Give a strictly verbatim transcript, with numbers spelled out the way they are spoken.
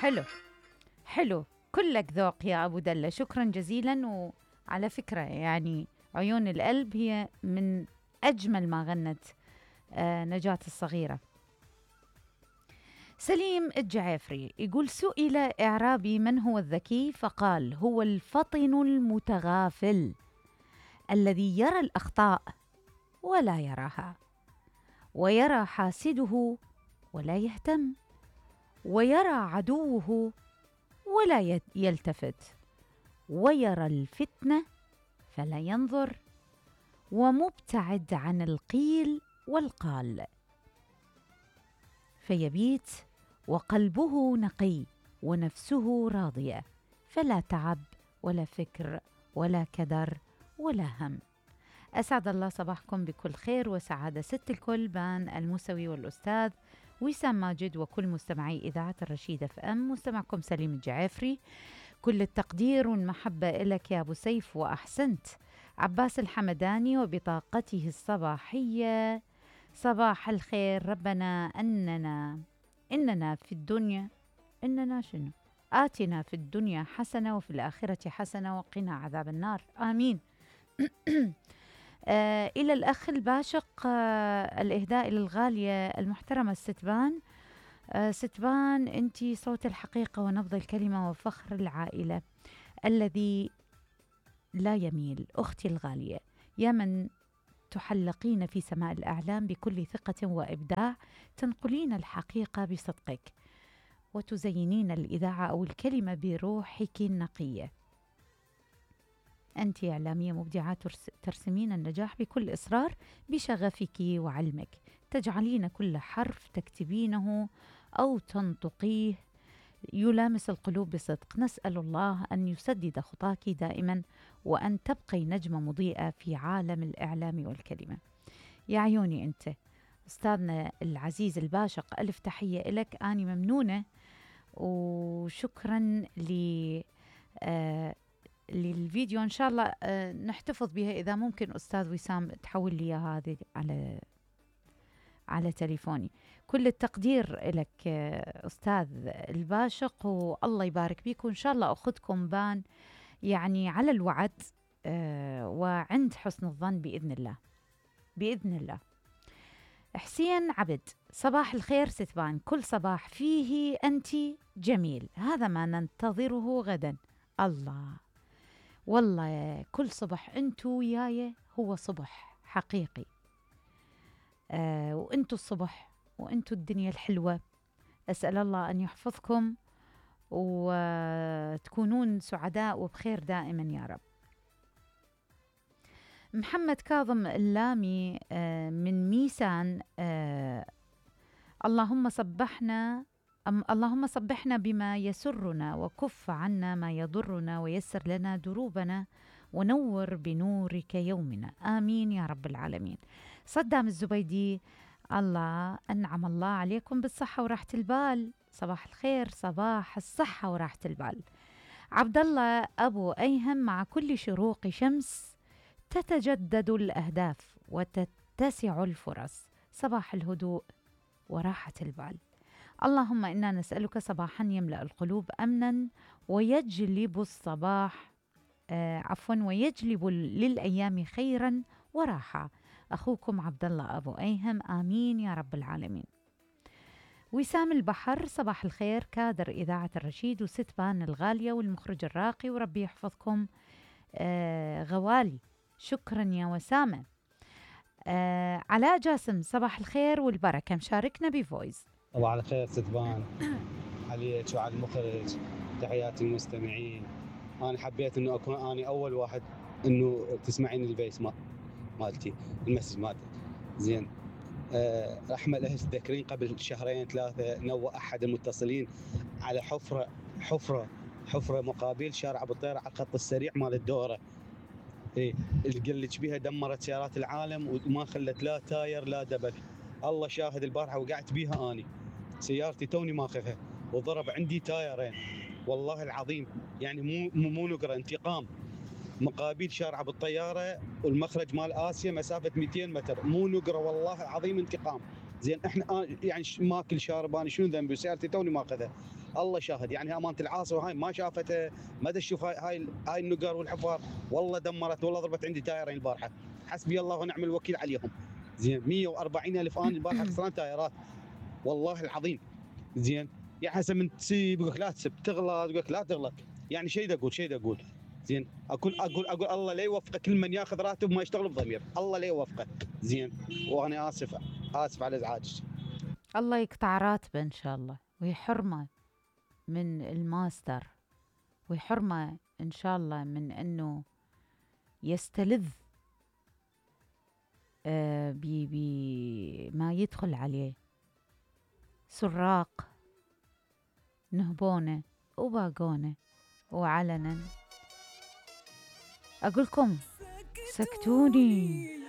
حلو حلو، كلك ذوق يا أبو دلة، شكرا جزيلا. وعلى فكرة يعني عيون القلب هي من أجمل ما غنت آه نجاة الصغيرة. سليم الجعافري يقول: سئل إعرابي من هو الذكي، فقال: هو الفطن المتغافل الذي يرى الأخطاء ولا يراها، ويرى حاسده ولا يهتم، ويرى عدوه ولا يلتفت، ويرى الفتنة فلا ينظر، ومبتعد عن القيل والقال، فيبيت وقلبه نقي ونفسه راضية، فلا تعب ولا فكر ولا كدر ولا هم. أسعد الله صباحكم بكل خير وسعادة. ست الكل بان الموسوي والأستاذ وسام ماجد وكل مستمعي إذاعة الرشيد اف ام. مستمعكم سليم الجعافري، كل التقدير والمحبة إلك يا أبو سيف، وأحسنت. عباس الحمداني وبطاقته الصباحية: صباح الخير، ربنا أننا إننا في الدنيا إننا شنو آتنا في الدنيا حسنة وفي الآخرة حسنة وقنا عذاب النار، آمين. آه إلى الأخ الباشق، آه الإهداء للغالية المحترمة ستبان. آه ستبان، أنتي صوت الحقيقة ونبض الكلمة وفخر العائلة الذي لا يميل. أختي الغالية، يا من تحلقين في سماء الأعلام بكل ثقة وإبداع، تنقلين الحقيقة بصدقك، وتزينين الإذاعة أو الكلمة بروحك النقية. أنت إعلامية مبدعة، ترسمين النجاح بكل إصرار بشغفك وعلمك، تجعلين كل حرف تكتبينه أو تنطقيه يلامس القلوب بصدق. نسأل الله أن يسدد خطاك دائما، وأن تبقي نجمة مضيئة في عالم الإعلام والكلمة. يا عيوني أنت أستاذنا العزيز الباشق، ألف تحية لك، أني ممنونة وشكرا ل آه للفيديو. إن شاء الله آه نحتفظ بها إذا ممكن. أستاذ وسام تحول لي هذه على على تليفوني. كل التقدير لك أستاذ الباشق، والله يبارك بيك، وإن شاء الله أخذكم بان يعني على الوعد آه وعند حسن الظن بإذن الله بإذن الله. حسين عبد: صباح الخير ستبان، كل صباح فيه أنت جميل، هذا ما ننتظره غدا. الله، والله كل صبح أنتوا وياي هو صبح حقيقي. آه وأنتوا الصبح وأنتوا الدنيا الحلوة. أسأل الله أن يحفظكم وتكونون سعداء وبخير دائما يا رب. محمد كاظم اللامي آه من ميسان: آه اللهم صبحنا أم اللهم صبحنا بما يسرنا، وكف عنا ما يضرنا، ويسر لنا دروبنا، ونور بنورك يومنا، آمين يا رب العالمين. صدام الزبيدي: الله أنعم الله عليكم بالصحة وراحة البال، صباح الخير، صباح الصحة وراحة البال. عبد الله أبو أيهم: مع كل شروق شمس تتجدد الأهداف وتتسع الفرص، صباح الهدوء وراحة البال. اللهم إنا نسألك صباحا يملأ القلوب أمنا، ويجلب الصباح آه عفوا ويجلب للأيام خيرا وراحة. أخوكم عبد الله أبو أيهم، آمين يا رب العالمين. وسام البحر: صباح الخير، كادر إذاعة الرشيد وستبان الغالية والمخرج الراقي، وربي يحفظكم آه غوالي. شكرا يا وسامة. آه علاء جاسم: صباح الخير والبركة، مشاركنا بفويس. صباح الخير ستبان عليك وعلى المخرج، تحياتي المستمعين. أنا حبيت إنه أكون أنا أول واحد إنه تسمعين البيس ما مالتي المسج مالتي زين. أه رحمة الله تذكرين قبل شهرين ثلاثة نوى أحد المتصلين على حفرة حفرة حفرة مقابل شارع أبو طير على الخط السريع مال الدورة، إيه اللي قلت بيها دمرت سيارات العالم وما خلت لا تاير لا دبك. الله شاهد، البارحة وقعت بيها أني سيارتي توني ماخذها وضرب عندي تايرين والله العظيم، يعني مو مو نقرة، انتقام. مقابل شارع بالطيارة والمخرج مال آسيا مسافة مئتين متر، مو نقرة والله العظيم، انتقام. زين احنا يعني ماكل شارب، انا شنو ذنبي؟ سيارتي توني ماخذها. الله شاهد، يعني امانه العاصي وهاي ما شافته، ما دا تشوف هاي هاي هاي النقر والحفار، والله دمرت، والله ضربت عندي تايرين البارحه، حسبي الله ونعم الوكيل عليهم. زين مية وأربعين الف انا البارحه خسران تايرات، والله العظيم. زين يعني هسه من تسيب يقول لك لا تسب، تغلط يقول لك لا تغلط، يعني شيء دا اقول شيء دا اقول. زين اقول اقول اقول الله لا يوفقه كل من ياخذ راتب ما يشتغل بضمير، الله لا يوفقه. زين وانا اسف اسف على ازعاجك. الله يقطع راتبه إن شاء الله ويحرمه من الماستر، ويحرمه إن شاء الله من أنه يستلذ آه بما يدخل عليه. سراق نهبونه وباقونه وعلنا. أقولكم سكتوني.